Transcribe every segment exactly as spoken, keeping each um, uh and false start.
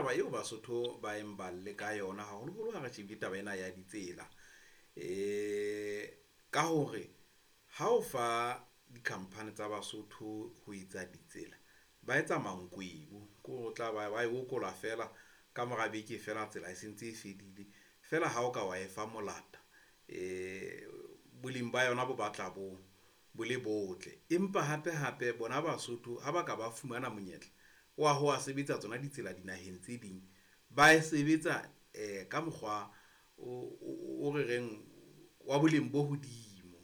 taba eo Basotho ba eng ba lle ka yona haholoholo ha re shebile taba ena ya ditsela. Eh ka hore ha o fa di-company tsa Basotho ho etsa ditsela, ba etsa mankwebo ke hore o tla ba ba e okola feela ka mora beke feela tsela e sentse e fedile feela ha o ka wa e fa molata eh boleng ba yona bo batla bo bo le botle. Empa hape hape bona Basotho ha ba ka ba fumana monyetla wa ho a sebetsa tsona ditsela dinaheng tse ding, ba e sebetsa eh ka mokgwa o o re reng wa boleng bo hodimo.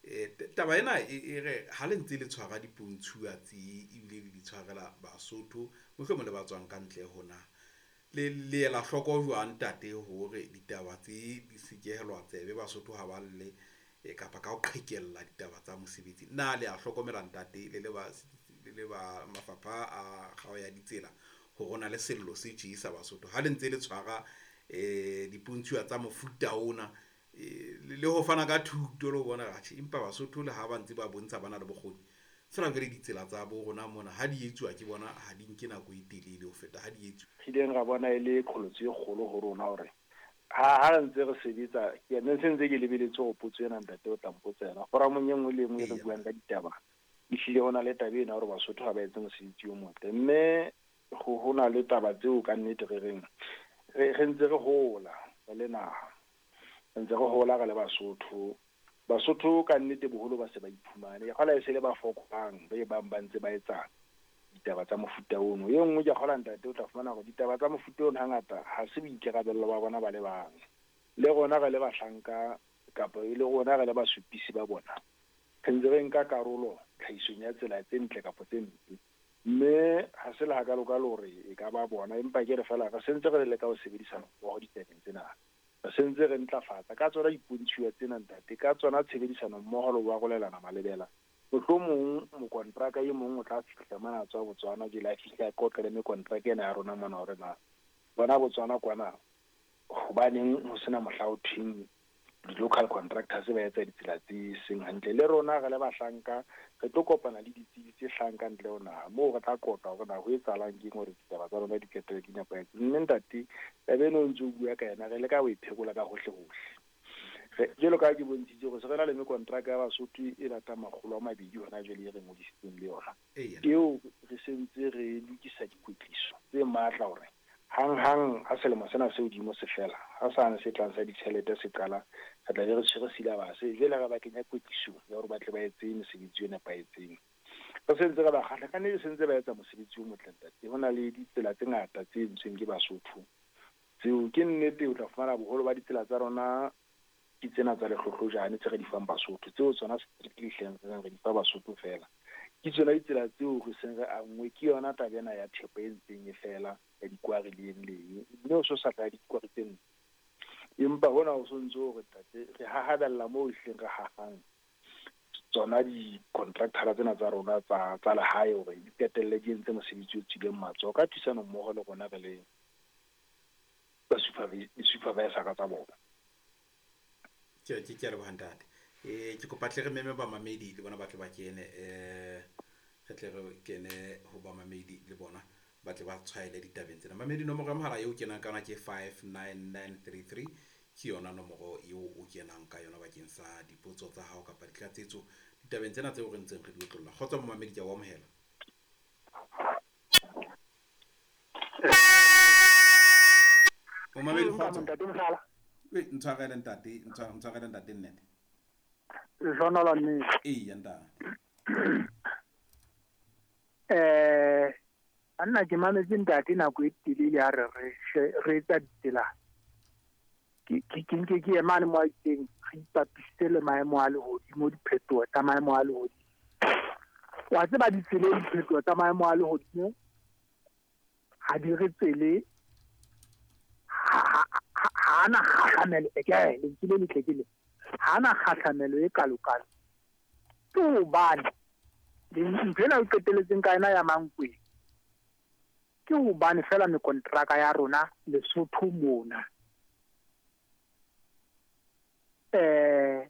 Eh taba ena e re ha le ntse le tshwara dipontshuwa tse ebile le di tshwarela Basotho, mohlomong le ba tswang ka ntle ho naha, le le ela hloko jwang ntate hore ditaba tse di sekehelwa tsebe Basotho ha ba lle kapa ka ho qhekella ditaba tsa mosebetsi? Na le a hlokomela ntate le le ba le le ba mafapha a kgao ya ditsela hore ho na le sello se tje sa Basotho ha le ntse le tshwara eh dipontshuwa tsa mofuta ona, le ho fana ka thuto le ho bona atjhe empa Basotho le ha ba ntse ba bontsha ba na le bokgoni feela jwale ditsela tsa bo rona mona ha di etsuwa ke bona ha di nke nako e telele ho feta ha di etsuwa. Re ileng ra bona e le qholotso e kgolo ho rona hore ha ha re ntse re sebetsa, ke ne se ntse ke lebeletse hore potso ena ntate o tla mpotsa yona. Foramong e nngwe le e nngwe re buang ka ditaba, ehlile ho na le taba ena hore Basotho ha ba etse mosebetsi o motle, mme ho ho na le taba tseo ka nnete re reng re re ntse re hola re le naha, re ntse re hola re le Basotho. Basotho ka nnete boholo ba se ba iphumane, ke kgola e se le ba fokolang ba e bang ba ntse ba etsa ditaba tsa mofuta ono. E nngwe ke kgola ntate o tla fumana hore ditaba tsa mofuta ono hangata ha se boikarabello ba bona ba le bang, le rona re le bahlanka kapa e le rona re le basupisi ba bona, re ntse re nka karolo tlhahisong ya tsela tse ntle kapa tse mpe, mme ha se le hakalokalo hore e ka ba bona, empa ke re feela re sentse re leka ho sebedisana mmoho ditabeng tsena, re sentse re ntlafatsa ka tsona dipontshuwa tsena ntate, ka tsona tshebedisano mmoho le ho arolelana malebela. Mohlomong mokontraka e mong o tla fihla mona a tswa Botswana, jwale a fihla a qoqe le mekontraka ena ya rona mona hore na bona Botswana kwana hobaneng ho sena mohla ho thweng di-local contractors ba etsa ditsela tse seng hantle. Le rona re le bahlanka re tlo kopana le ditsebi tse hlahang ka ntle ho naha, moo re tla qoqa hore na ho etsahalang keng hore ditaba tsa rona di qetelle di nepahetse. Mme ntate taba eno o ntso o bua ka yona, re leka ho e phekola ka hohle hohle. Jwalo ka ha ke bontshitse hore se re na le mekontraka ya Basotho e batang makgolo a mabedi hona jwale e re ngodisitseng le yona, eo re sentse re lokisa dikwetliso tse matla hore hang-hang ha selemo sena se hodimo se fela, ha sane se tlang sa ditjhelete se qala, re tla be re tshwere syllabus jwale re ba kenya kwetlisong ya hore ba tle ba etse mesebetsi e nepahetseng. Re sentse re ba kgahla ka nnete, sentse ba etsa mosebetsi o motle ntate. Ho na le ditsela tse ngata tse entsweng ke Basotho tseo ke nnete o tla fumana boholo ba ditsela tsa rona ke tsena tsa lehlohlojane tse re di fang Basotho, tseo tsona strictly hleng re di fa Basotho feela. Ke tsona ditsela tseo re seng re angwe ke yona taba ena ya thepa e ntseng e fela ya dikwari le eng le eng, mme o so sa tla dikwari tse nne, empa hona ho sontso hore ntate re hahabella moo ehlileng re hahang tsona di-contractor tsena tsa rona tsa tsa lehae hore di qetelle di entse mosebetsi o tswileng matsoho ka thusano mmoho le rona re le ba supervisor tsa bona. Ke ke ke a leboha ntate. Eh ke kopa tle re meme bamamedi le bona ba tle ba kene, eh re tle re kene ho bamamedi le bona ba tle ba tshwaele ditabeng tsena. Mamedi, nomoro ya mohala eo kenang ka yona ke five nine nine three three, ke yona nomoro eo o kenang ka yona bakeng sa dipotso tsa hao kapa ditlatsetso ditabeng tsena tseo re ntseng re di otlolla. Kgotso momamedi, ke a o amohela. Momamedi, kgotso. E ntshwarele ntate, ntshwarele ntate nnete. Lehlohonolo nnete. Eya ntate. Eh nna ke mametse ntate nako e telele ha re re re etsa ditsela. Ke ke ke nke ke emane mo a itseng re ipapisitse le maemo a lehodimo, diphetoho tsa maemo a lehodimo. Wa tseba ditseleng diphetoho tsa maemo a lehodimo ha di re tsele, ha na kgahlamelo e ke lentswe le letle ke le ha na kgahlamelo e kalokalo. Ke hobane ntho ena o qeteletseng ka yona ya Mankweng, ke hobane feela mekontraka ya rona Lesotho mona eh